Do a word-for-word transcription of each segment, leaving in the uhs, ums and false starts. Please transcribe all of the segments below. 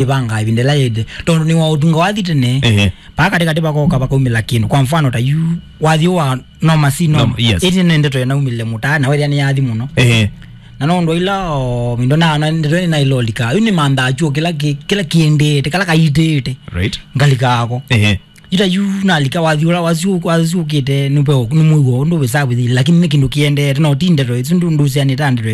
ĩvanga ĩvinda ĩla yĩte. Tondũ nĩ wa ũtunga wathi tene, Ehe. Paa katĩkatĩ vakoka vakaumĩla kĩndũ. Kwa mfano, ta yu wathi wa noma si noma. Nom-, yes. Ĩti nĩ ndeto ĩnaumĩlile mũtaa, na wethĩa nĩ yathi mũno. Ehe. Na no ũndũ ila o mindo na, na ndeto ĩna ilolika. Yu nĩ manthaa chuo kĩla kĩ-, kĩla kĩendete, kala kaitĩte. Right. Ngalika ako. Ehe. Ita yu nalika wathi ũla wasyũkĩte nũmwĩw'o ũndũ wĩsaa wĩthi, lakini nĩ kĩndũ kĩendete, no ti ndeto ĩsu ndũsianĩta ndeto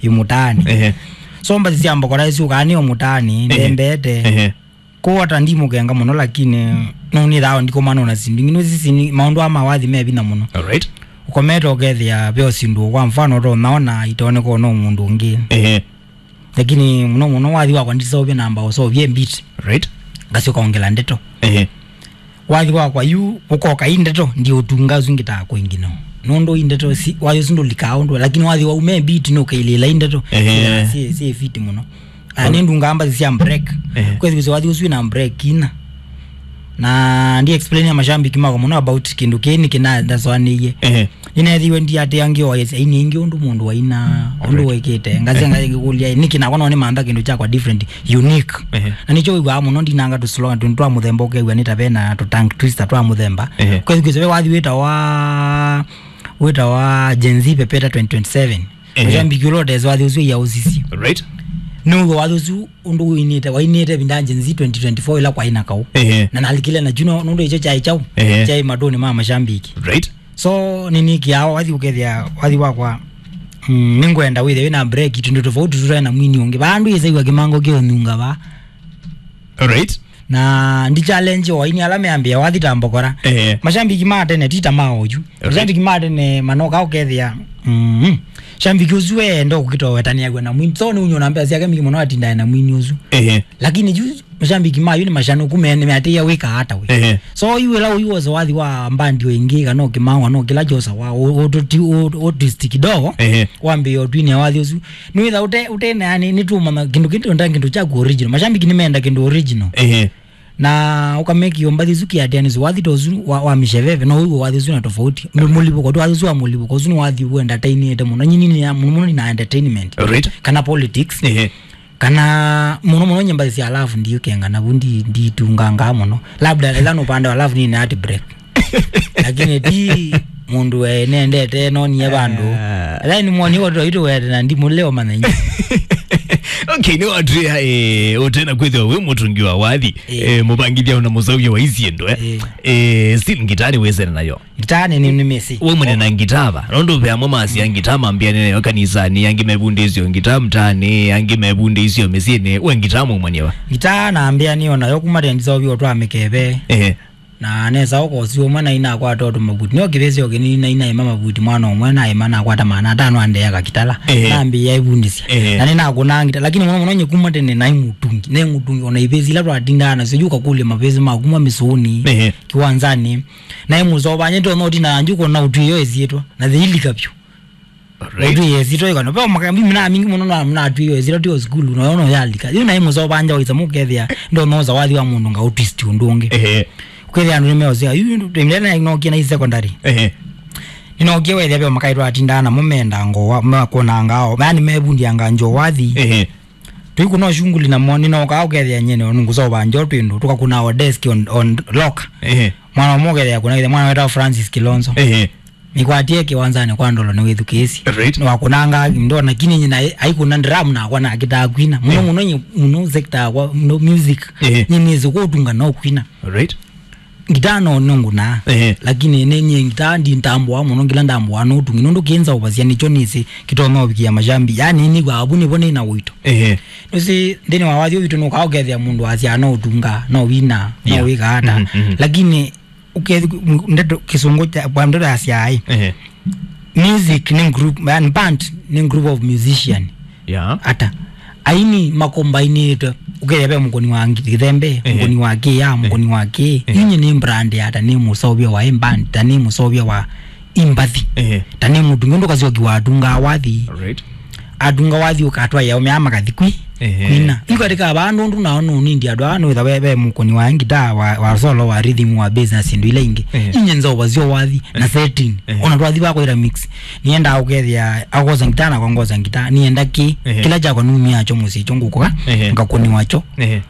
ĩ mũtaani. Ehe. So mbathi sya mbokora ĩsyũkaa nĩo mũtaani, Ehe. Ndembete. Ehe. Kũu ata ndimũkenga mũno, lakini no nĩthaa ndikũmana na sindu ingĩ. Nũsisini maũndũ aa ma wathi me vinya mũno. Alright. Ũkomete ũkethĩa ve o sindu, kwa mfano, ũtonaona itoneka no mũndũ ũngĩ. Ehe. Lakini mũno mũno wathi wakwa ndiseũvye namba, ũseũvye beat. Right. Ngasyoka ongela ndeto. Ehe. Wathi wakwa yu ũkoka i ndeto, ndiũtunga ũsu ngĩtaa kwĩngĩ no. Nũndũ i ndeto si, wathi ũsu ndũlikaa ũndũ, lakini wathi wau me beat nũkailĩla i ndeto. Ehe. Syĩ, syĩ, syĩ fit mũno. Na nĩ ndungaa mbathi sya break. Ehe. Kwĩthĩwa wathi ũsu wĩna break ina. Na ndi explain ya mashabiki makwa mũno about kĩndũ kĩĩ nĩkĩ na ndasoanĩie. Ehe. Nĩneethiwe ndiatĩa ngĩoa aini aingĩ ũndũ mũndũ waina, ũndũ Alright. Wekĩte. Ngasya Ehe. Ngakũlya, nĩkĩ nakwa no nĩmantha kĩndũ kyakwa different, unique. Ehe. Na nĩkyo wĩw'aa mũno ndinanga tũ slogan tũndũ twa mũthemba ũkew'a nĩ ta vena tũ tongue twister twa mũthemba. Ehe. Kwĩthukĩsya ve wathi wĩtawa, wĩtawa Gen Z Pepeta twenty twenty-seven. Ehe. Mashabiki ũla ũtesĩ wathi ũsu yaũsisye. Right. Nĩw'o wathi ũsu ũndũ ũinĩte, wainĩte vinda Gen Z twenty twenty-four ila kwaina kau. Ehe. Na nalikile na juno nũndũ icho chai chau. Ehe. Chai matũnĩ ma mashabiki. Right. So nĩnĩkĩaa wathi ũkethĩa wathi wakwa, mm, nĩngwenda wĩthe wĩna break tũndũ tofauti tũtae na mwini ũngĩ. Vandũ ĩsaiwa kĩmango kĩũnyunga va. Alright. Na ndi challenge o aini ala meambĩa wathi ta mbokora. Ehe. Mashabiki ma tene ti ta ma oyu. Alright. Mashabiki ma tene manoka ũkethĩa. Mm. Shabiki ũsu eenda ũkũkita wetanĩaw'a na mwini. So nĩ ũnyona mbesa syake mingi mũno atindae na mwini ũsu. Ehe. Lakini ju mashabiki mayu nĩ mashanũku me nĩmeatĩĩa wĩka ata we. Ehe. So yu ĩla ũyu wose wathi wa mbandi o ĩngĩ kana ũkĩmawa no kĩla kyosa wa ũtwist kidogo. Ehe. Wambĩĩa ũtwinĩa wathi ũsu. Nĩwĩtha ũte, ũte na yani nĩtũmanya kĩndũ kĩndũ nda kĩndũ kyaku original. Mashabiki nĩmenda kĩndũ original. Ehe. Na ũkamekio mbathi isu kiatianĩsyo wathi ta ũsu wa, wa misheveve no ũiwe wathi ũsu na tofauti. Mũ-, mũlivũko tu wathi ũsu wa mũlivũko ũsu nĩ wathi ũendatainĩte mũno. Nyini nĩ ya mũno mũno nĩ na entertainment. Right. Kana politics. Ehe. Kana mũno mũno nyimbo cia love ndiũkenga na vu ndi, nditunganga mũno. Labda ĩla nũpande wa love nĩ na heartbreak. Lakini ti mũndũ we nendete nonie vandũ. Ah. Ĩla nĩ moni watu waitu wete na ndimũleo manenyi. Okay, nĩ watwĩa, eh, ũtena kwĩthĩwa wĩ mũtungi wa wathi, Eh. eh, mũvangithya na mũseũvya wa isyĩndũ, eh. Eh. Eh, still ngitaa nĩwĩsene nayo. Ngitaa nĩ, nĩ, nĩ mĩsĩ. We mwene na ngitaa va? Nũndũ ve amwe masia ngitaa mambĩanĩe nayo kanisanĩ, angĩ mevundĩsyo ngitaa mtaanĩ, angĩ mevundĩsyo mĩsyĩnĩ. We ngitaa mwaumanie va? Ngitaa nambĩanĩe nayo kuma tene ndiseũvya ũtwaa mĩkeve. Ehe. Na nesa ũkosi ũmwe nainakwata ũtũ mavuti. Nĩo kĩvĩsĩ o kĩnini nainaĩma mavuti mwana ũmwe naĩma nakwata maana atano andeaga kitala. Ehe. Nambĩĩa ĩvundĩsya. Ehe. Na nĩnakũnaa ngita, lakini mũno mũno nyie kuma tene naĩ mũtungi. Naĩ mũtungi, ona ivĩsĩ ila twatindaa nasyo, yu ũkakũlya mavĩsĩ ma kuma mĩsũnĩ, Ehe. Kĩwanzanĩ. Naĩ mũsovanyĩte ona ũtindaa njuko na ũtwĩo ĩsyĩtwa. Na thĩilika vyũ. Alright. Ũtwĩe ĩsyĩtwa ĩkano. Ve maka mimi na mingi mũno na, na twĩo ĩsyĩtwa tio sukulu, no no yalika. Yu naĩ mũsovanja waisa mũkethĩa, ndonoza wathi wa mũndũ nga ũtwist ũndũ ũngĩ. Ehe. Kwĩthĩa andũ nĩmeosea, yu ndemlele na inokie na secondary. Ehe. Ninokie wethĩa ve makaitwa atindaa namo menda ngoa, makona ngao. Yani mevundia nganjo wathi. Ehe. Tũikũna ũshunguli namo, nĩnokaa ũkethĩa nyene, nũngũsova njo twĩndũ, tũkakũna o desk on, on lock. Ehe. Mwana ũmwe ũkethĩa kuna, mwana wetawa Francis Kilonzo. Ehe. Nĩkwatie kĩwanzanĩ kwa ndolo nĩwĩthukĩĩsye. Right. Nĩwakũnanga ndona kini nyina aikũna drum nakwa nakĩtaa kwina. Mũno Eh. mũno nye, mũno sector yakwa, mũno music. Eh. Nye nĩsĩ kũtunga no kwina. Right. Ngitaa no nũngũnaa. Eh. Lakini nĩ nye ngitaa ndi ntambũa mũno ngila ndambũa no tungi. Nũndũ kĩnza ũvasya nĩkyo nĩsĩ kĩtonya ũvikĩa mashambi. Yani nĩw'a avu nĩvo nĩ na ũito. Eh. Nũsĩ nthĩnĩ wa wathi witũ nũkaa ũkethĩa mũndũ asya no ũtunga, no wina, no Yeah. wĩka ata. Mhm, mhm. Lakini Ũkethĩ-, m-, ndeto kĩsũngũ kya, kwa ndeto ya syai. Ehe. Music nĩ group, yani band nĩ group of musician. Yeah. Ata. Aini makombainĩtwe. Ũkethĩa ve mũkoni wa ngi-, gĩthembe, Ehe. mũkoni wa kĩya, Ehe. mũkoni wa kĩ. Ehe. Inye nĩ brand ya ta nĩ mũseũvya wa ĩ band, ta nĩ mũseũvya wa imbathi. Ehe. Ta nĩ mũtungi ũndũ kasyoki watungaa wathi. Alright. Atunga wathi ũkatwaĩa ũmea makathi kwi. Ehe. Kwina. Yu katika vandũ ũndũ nao nũnindi andũ aa nũitha ve, ve mũkũni wa ngitaa, wa, wa solo, wa rhythm, wa bass na syĩndũ ila ingĩ. Ehe. Inye nzova syo wathi na Ehe. setting. Ehe. Ona twathi vakwĩra mix. Niendaa ũkethĩa akosa ngitaa na kongosa ngitaa. Nienda kĩ. Ehe. Kĩla kyakwa numia kyo mũsyĩ kyo ngũkũka. Ehe. Ngakũniwa kyo. Ehe.